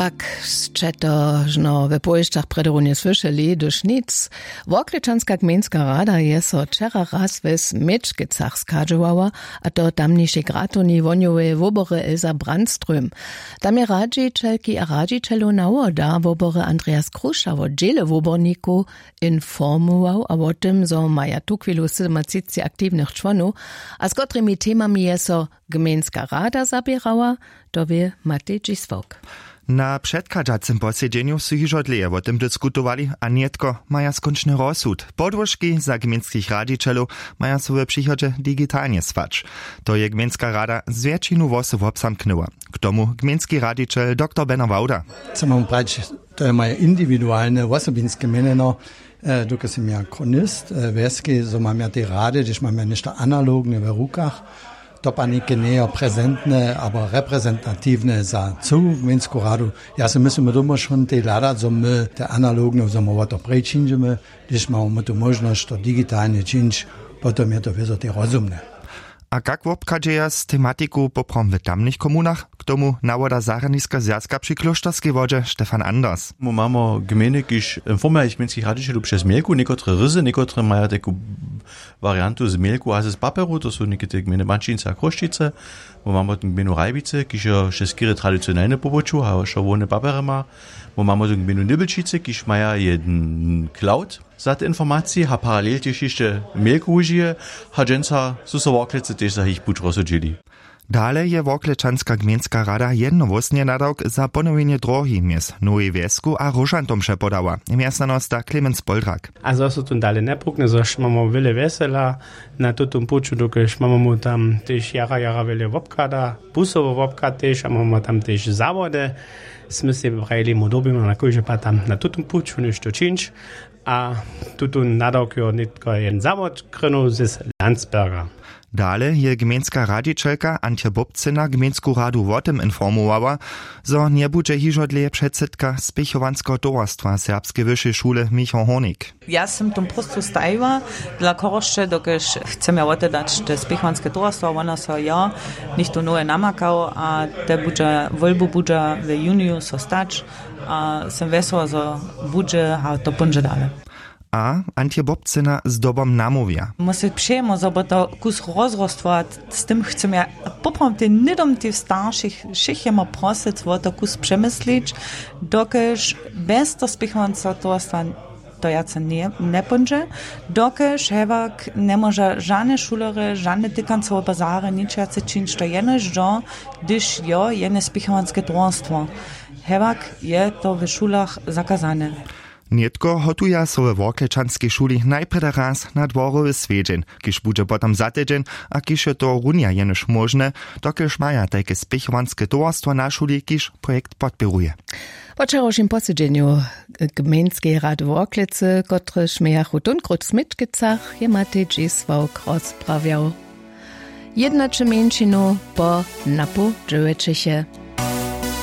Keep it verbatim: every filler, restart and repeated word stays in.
Pak sće to žno we powěsćach prjedy runje słyšeli, hdyž nic. Worklečanska gmejnska rada je so wčera raz we Směčkecach schadźowała, a to tamnišej gratowni wohnjoweje wobory Elsa Brandström. Tam je radźićelki a radźićelow nawoda wobory Andreas Kruša wo dźěle wobornikow informował a wo tym, zo maja tuchwilu sydomatřicci aktiwnych čłonow a z kotrimi temami je so gmejnska rada zaběrała, to wě Matej Dźisławk. Na předchadźacym posedźenju su hižo dlěje wo tym diskutowali a nětko maja skónčny rozsud. Podłožki za gmejnskich radźićelow maja so w přichodźe digitalnje słać. To je gmejnska rada z wjetšinu hłosow wobzamknyła. K tomu gmejnski radźićel doktor Beno Wałda. Chcę wam prawić, to je moje indiwidualne, wosobinske měnjeno. Dokelž sym ja chronist wjeske, zo mam ja tej rady, hdyž mam ja něšto analogne w rukach, to pa něke njejo prezentne abo reprezentatiwne za cyłu gmejnsku radu. Ja se myslim, my doma šón tej hladać, zo my te analogne zo my wo to prej činźimy. Hdyž mamy my tu móžnosć to digitalnje čińć, potom je to wězo tej rozumne. A kak wobchadźeja z tematiku poprawom w tamnych komunach? K tomu nawoda zarjadniska zwjazka při klóšterskej wodźe Stefan Anders. Mu mamo gmejny kiž informujach gmejnskich radźićelow přez mailku někotre ryzy někotre maja taku wariantu z mailku a z paperu, to su někotry gmejny Bančińce a Chrósćice. Mu mamo gmejnu Rajbicy kiž jo wšeskerje tradicionelne pobyću a wšo hłowne papery ma. Mu mamo gmejnu Nibelčicy kiž maja jedn cloud za te informacije a paralel tež hišće mailku wužije. A dźensa su so worklecy tež za jich puć rozsudźili. Dale je worklečanska gmejnska rada jednohłósnje nadawk za ponowjenje dróhi mjez nowej wjesku a róžantom přepodała mjezstanosta Clemens Poldrak. A zo su tón dale njepukny zož mamy wjele wjesela na tutym puću dokelž mamy mu tam tež jara jara wjele wobchada, busowy wobchad tež a mamy tam tež zawody. Smy sej prajili mu dyrbimy na kóždy pad tam na tutym puću něšto čińć. A tutón nadawk jo nětko jedn zawod krynył z Landsberga. Dale je gmejnska radźićelka Antje Bobcyna gmejnsku radu wo tym informowała, zo njebudźe hižo dlěje předsydka spěchowanskeho towarstwa serbskeje wyšej šule Michał Hornik. Ja sym tom próstwu stajiła dla chorosće dokelž chcem ja wotedać te spěchowanske towarstwa wona so jo něchtó nowe namakał a te budźa wólbu budźa w juniju so stać. A sym wjesela zo budźe a to póńdźe dale. A Antje Bobcyna zdobom namołwja. Móže přejemo zo bo to kus rozrostwować. Z tym chcem ja poprawom tej hnydom tej staršich wšěch jemo prosyc wo to kus přemyslić, dokelž bjez to spěchowanca towarstwa to wjace njepóńdźe, dokelž hewak njemóža žane šulerje žane tykancowe bazary ničace čińć to jenož do hdyž jo jene spěchowanske towarstwo, hewak je to w šulach zakazane. Nětko hotuja so we worklečanskej šuli najprjedy raz na dworowy swjedźeń, kiž budźe potom za tydźeń, a kiž je to runja jenož móžne, dokelž maja tajke spěchowanske towarstwo na šuli kiž projekt podpěruje. Po wčerawšim posedźenju gmejnskej rady worklecy kotrež mějachu tónkrót w směčkecach, je matej dźisławk rozprawjał. Jednaće mjeńšinu po napoł dźewjećeche.